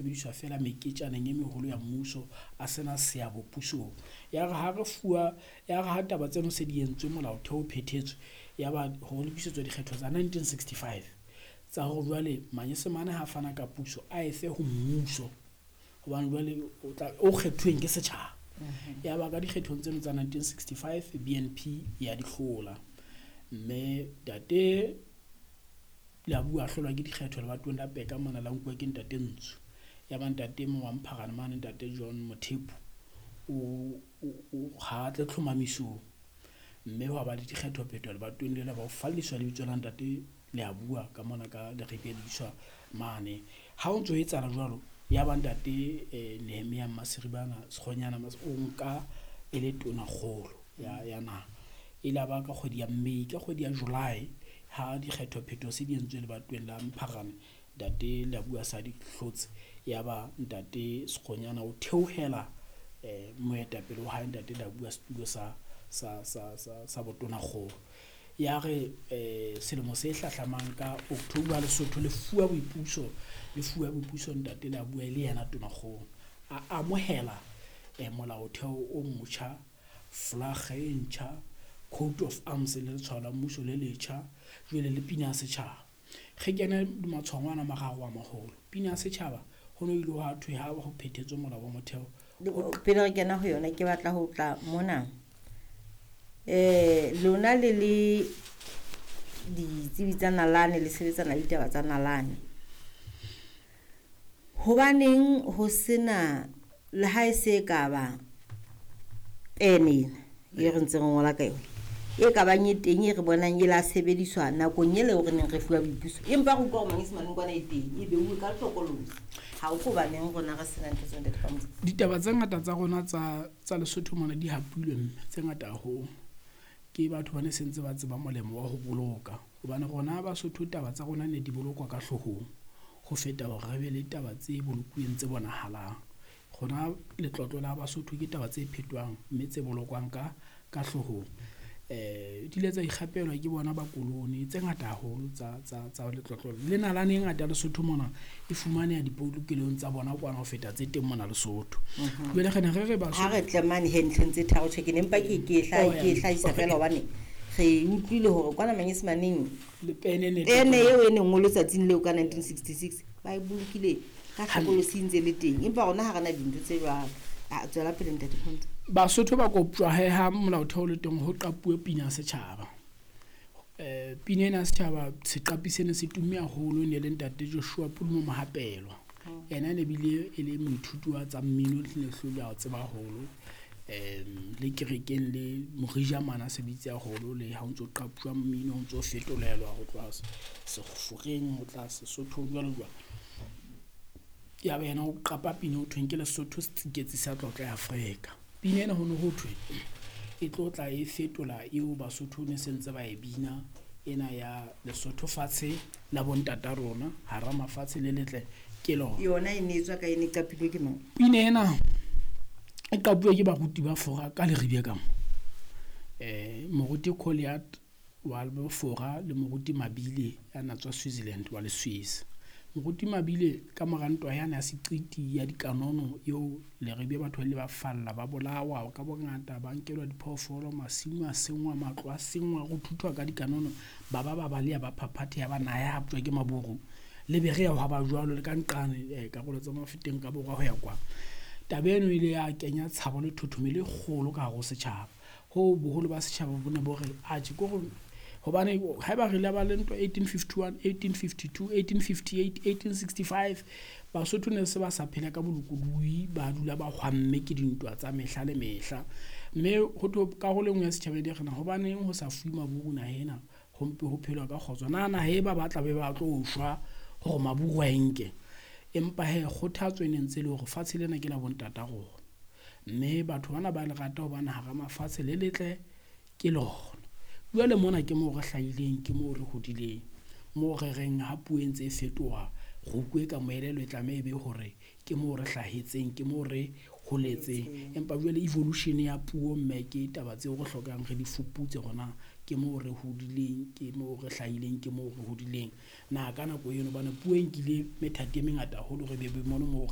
Sebediswa feela meketjaneng e meholo ya mmuso, a sena seabo pusong. Ya re ha re fuwa, ya re ha taba tseno se di entswe, molaotheo o phethetswe, ya ba ho lokisetswa dikgetho tsa 1965 tsa hore jwale manyesemane ha fana ka puso a efe ho mmuso, hobane jwale o tla o kgethuweng ke setjhaba. Ya ba ka dikgethong tseno tsa 1965 BNP ya di hlola, mme ntate Leabua a hlolwa ke dikgetho lebatoweng la Peka mona, la nkuwa ke ntate Ntsho. Ya ba ntate e mong wa Mpharane mane, ntate John Mothepu o ha tle tlhomamisong, mme hwa ba le dikgetho-phetho lebatoweng lena, ba o falliswa lebitso la ntate Leabua ka mona ka Leribe le iswa mane. Ha o ntso etsahala jwalo, ya ba ntate Nehemia Maseribana Sekgonyana o nka e le tonakgolo ya naha. E la ba ka kgwedi ya May, ka kgwedi ya July ha dikgetho-phetho se di entswe lebatoweng la Mpharane, ntate Leabua sa di hlotse, ya ba ntate Sekgonyana o theohela moetapele wa hae ntate Leabua setulo sa botonakgolo. Ya re selemo se hlahlamang ka October Lesotho le fuwa boipuso, le fuwa boipuso ntate Leabua e le yena tonakgolo. A amohela molaotheo o motjha, flag e ntjha, coat of arms le letshwao la mmuso le letjha, jwale le pina ya setjhaba. Re kene matshwao ana a mararo a maholo. Pina ya setjhaba ho no ile hwa thwe ha ho phethetswe molao wa motheo. Pele re kena ho yona, ke batla ho tla mona. Lona le le ditsebi tsa nalane, le sebetsana le ditaba tsa nalane. Hobaneng ho sena le ha e se ka ba pene ena e re ntseng re ngola ka yona, e ka bang e teng e re bonang e la sebediswa nakong ele eo re neng re fuwa boipuso, empa re utlwa hore manyesemaneng kwana e teng, e beuwe ka hlokolosi. Ha o hobaneng rona re sena ntho tseo, ntate Phamotse? Ditaba tse ngata tsa rona tsa Lesotho mona di hapilwe, mme tse ngata haholo ke batho ba ne sentse ba tseba molemo wa ho boloka, hobane rona Basotho taba tsa rona ne di bolokwa ka hloohong ho feta hore re be le taba tse bolokuweng tse bonahalang. Rona letlotlo la Basotho ke taba tse phetwang mme tse bolokwang ka hloohong. Di ile tsa ikgapelwa ke bona ba koloni tse ngata haholo tsa letlotlo le nalane e ngata ya Lesotho mona e fumaneha dipolokelong tsa bona kwana ho feta tse teng mona Lesotho. Jwale re ne re re Basotho ha re tle mane he ntlheng tse tharo, tjhe, ke ne mpa ke Oh, ke hlahisa feela hobane re utlwile hore kwana manyesemaneng le pene ne pene eo e neng ngolwe tsatsing leo ka 1966 ba e bolokile ka hlokolosi ntse le teng, empa rona ha re na dintho tse jwalo. A tswela pele ntate Phamotse. Basotho ba koptjwa he ha molaotheo le teng ho qapuwe pina ya setjhaba. Pina ena ya setjhaba, seqapi sena se tumme haholo, ne le ntate Joshua Pulumo Mohapelwa. Yena ne bile e le moithuti wa tsa mmino, le hlole a tseba haholo. Le kerekeng le Morija mana sebitse haholo, le ha o ntso qapuwa mmino, o ntso fetolelwa ho tloha Seforeng ho tla Sesothong jwalo jwalo. Ya ba yena o qapa pina ho thweng ke Lesotho setsiketsi sa tlotla ya Afrika. Pina ena ho ne ho thwe e tlo tla e fetola eo Basotho ne sentse ba e bina ena ya Lesotho fatshe la bontata rona hara mafatshe le letle ke lona. Yona e ne etswa ka ene, e qapilwe ke mang? Pina ena e qapuwe ke baruti ba Fora ka Leribe ka mo. Moruti Colliard wa Fora le moruti Mabile ya na tswa Switzerland wa le Swiss. Moruti Mabile ka mora ntwa yane ya seqiti ya dikanono eo Leribe batho ba ile ba falla, ba bolawa ka bongata, ba nkelwa diphoofolo, masimo a senngwa, matlo a senngwa, ho thuthwa ka dikanono, ba ba ba baleha, ba phaphatheha, ba naha ya haptjwa ke maburu. Le Berea hwa ba jwalo, le ka nqane karolo tsa Mafeteng ka borwa ho ya kwa. Taba eno e ile ya kenya tshabo le thothomelo e kgolo ka hare ho setjhaba. Hoo boholo ba setjhaba bo ne bo re, atjhe, ke hore hobane haeba re ile ba le ntwa 1851, 1852, 1858, 1865, Basotho ne se ba sa phela ka bolokolohi, ba dula ba hwamme ke dintwa tsa mehla le mehla. Mme ho thwe karolo e nngwe ya setjhaba e re na hobaneng ho sa fuwe maburu naha ena, ho mpe ho phelwa ka kgotso. Na naha e ba batla be ba tlo shwa hore maburu a e nke. Empa he kgothatso e ne ntse le hore fatshe lena ke la bontata rona, mme batho bana ba le rata hobane hara mafatshe le letle ke lona. Jwale mona ke moo re hlahileng, ke moo re hodileng, moo re reng ha puo e ntse e fetoha, re utlwe ka moelelo e tlameha e be hore ke moo re hlahetseng, ke moo re holetseng. Empa jwale evolution ya puo mme ke taba tseo re hlokang re di fuputse hore na ke moo re hodileng, ke moo re hlahileng, ke moo re hodileng. Na ka nako eno hobane puo e nkile methati e mengata haholo, re be be mono moo re